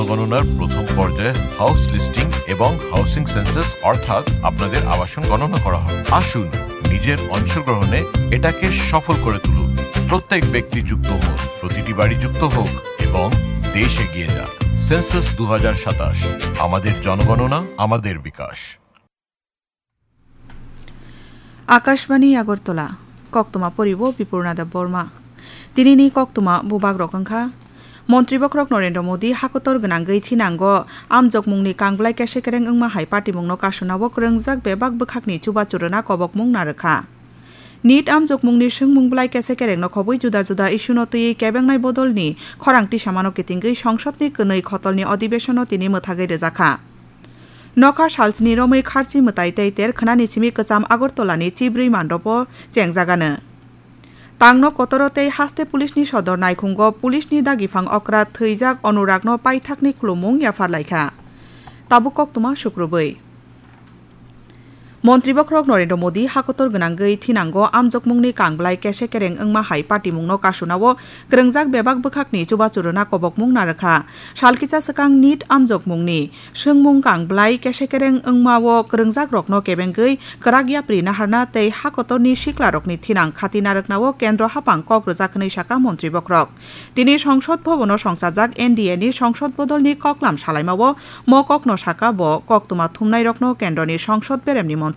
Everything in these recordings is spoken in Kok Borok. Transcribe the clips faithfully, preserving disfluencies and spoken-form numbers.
গণনার প্রথম পর্যায়ে হাউস লিস্টিং এবং হাউসিং সেন্সাস অর্থাৎ আপনাদের আবাসন গণনা করা হয়। আসুন, নিজের অংশগ্রহণে এটাকে সফল করে তুলুন। প্রত্যেক ব্যক্তি যুক্ত হোক, প্রতিটি বাড়ি যুক্ত হোক এবং দেশ এগিয়ে যাক। সেন্সাস দু হাজার সাতাশ, আমাদের জনগণনা, আমাদের বিকাশ। Akashbani Agartala, koktwma poribo Bipurna Debbarma. Tinini koktwma bubagrok wngkha, Montri Bokhorok Narendra Modi hakotor gwnangwi thinango amjokmungni kangblai kesekereng wngma hai patimungno kasunao kwrwngjak bebak bwkhakni chubachu rwna kobokmung narwkha. Nit amjokmungni swngmung blai kesekerengno khobwi juda juda issue-no twiwi kebengnai bodolni khorang tisamano kitingwi songsodni kwnwi khotolni odibesonno tini mwthagwi rwjakha. Nokha salsni romwi kharchi mwtai tei ter khwnani simi kwcham Agartalani chibrwi mandopo chengjagano. Tangno kotoro tei haste pulisni sodor naikhungo pulisni dagiphang okra thwijak Anuragno paithakni khulumung yapharlaikha. Tabuk koktwma sukrubwi. Montri Bokhorok Narendra Modi hakotor gwnangwi thinango amjokmungni kangblai kesekereng wngma hai patimungno kasunao kwrwngjak bebak bwkhakni chubachu rwna kobokmung narwkha. Salkisa swkang nit amjokmungni swngmung kangblai kesekereng wngmao kwrwngjakrokno kebengwi kwrak yapri naharna tei hakotorni siklarokni thinang khati narwknao kendro haphang kok rwjak hwnwi sakha Montri Bokhorok. Tini Songsod Bhobono songchajak N D A ni songsod bodolni koklam salaimao mo kokno sakha bo koktwma thumnairokno kendroni songsod beremni montri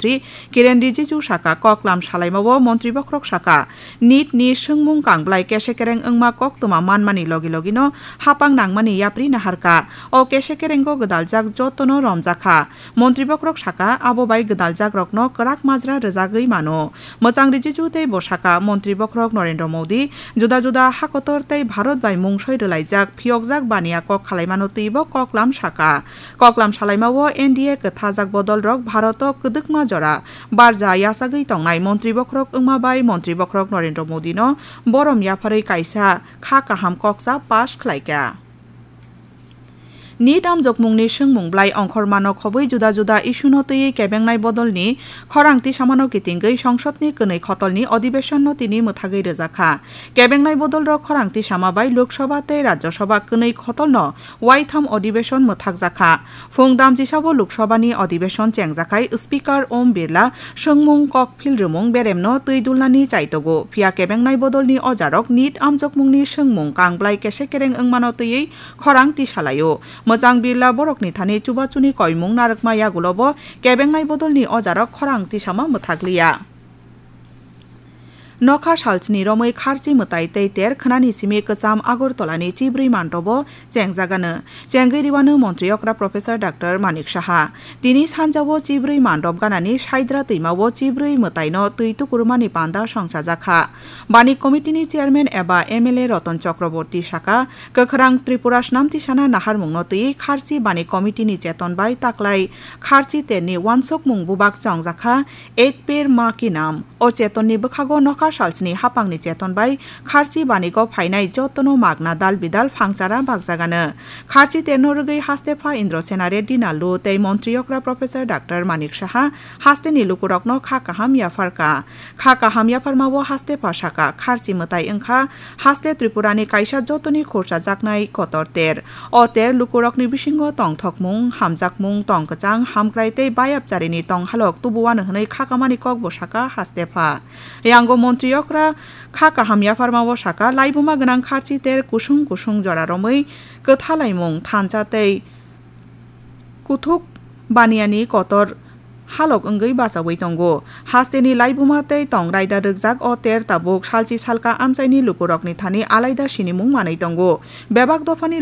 Kiren Rijiju sakha. Koklam salaimao Montri Bokhorok sakha, nit ni swngmung kangblai kesekereng wngma koktwma manmani logi logino haphang nangmani yapri naharkha. O kesekerengo gwdaljak jotono romjakha. Montri Bokhorok sakha, abo bai gwdaljakrokno kwrak majra rwjagwi mano. Mwchang Rijiju tei bo sakha, Montri Bokhorok Narendra Modi juda juda hakotor tei Bharat bai mungsoi rwlaijak phiyokjak baniya kok khalaimano twibo koklam sakha. Koklam salaimao N D A kwthajak bodolrok Bharato kwdwkma jora barja yachagwi tongnai Montri Bokhorok wngma bai Montri Bokhorok Narendra Modino borom yapharwi kaisa kha kaham koksa pass khlaikha. Nit amjokmungni swngmung blai ongkhormano khobwi juda juda issue-no twiwi kebengnai bodolni khorang tisamano kitingwi songsodni kwnwi khotolni odibesonno tini mwthagwi rwjakha. Kebengnai bodolrok khorang tisama bai Lok Sabha tei Rajya Sabha kwnwi khotolno waitham odibeshon mwthakjakha. Phung damchisao Lok Sabhani odibeshon chengjakhai Speaker Om Birla swngmung kokphil rwmung beremno twi dulnani chaitogo. Phiya kebengnai bodolni ojarok nit amjokmungni swngmung kangblai kesekereng wngmano twiwi khorang tisalaio. Mwchang Birla borokni thani chubachuni koimung narwkma yagulobo kebengnai bodolni ojarok khorang tisama mwthakliya. Nokha salsni romwi kharchi mwtai tei ter khwnani simi kwcham Agartalani chibrwi manrobo chengjagano. Chengwi riwano montri okra Professor Doctor Manik Saha. Tini sanjao chibrwi manrop ganani Saidra twimao chibrwi mwtaino twi tukurmani panda songchajakha. Bani committee ni chairman eba M L A Ratan Chakraborty sakha, kwkhwrang Tripura snamti sana naharmungno twi kharchi bani committee ni cheton bai taklai kharchi terni wansukmung bubak chongjakha, Ek Ped Maa Ki Naam. O chetonni bwkhago nokha salsni haphangni cheton bai kharchi banigo phainai jotono magna dal bidal phangchara bakjagano. Kharchi terno rwgwi haste pha Indra Sena Reddy Nallu tei montri okra Professor Doctor Manik Saha hasteni lukurokno kha kaham yapharkha. Kha kaham yapharmao haste pha sakha, kharchi mwtai wngkha haste Tripurani kaisa jotoni khurchajaknai kotor ter. O ter lukurokni bisingo tongthokmung, hamjakmung, tongkwchang, hamkrai tei bayapcharini tonghalok tubuano hwnwi khakamani kokbo sakha haste pha. Yango montri okra kha kaham yapharmao sakha, laibuma gwnang kharchi ter kusung kusung jora romwi kwthalaimung thansa tei kuthuk baniyani kotor halok wngwi bachaui tongo. Hasteni laibuma tei tong raida rwkjak o ter tabuk salchi salka amchaini lukurokni thani alaida sinimung manwi tongo. Bebak dophani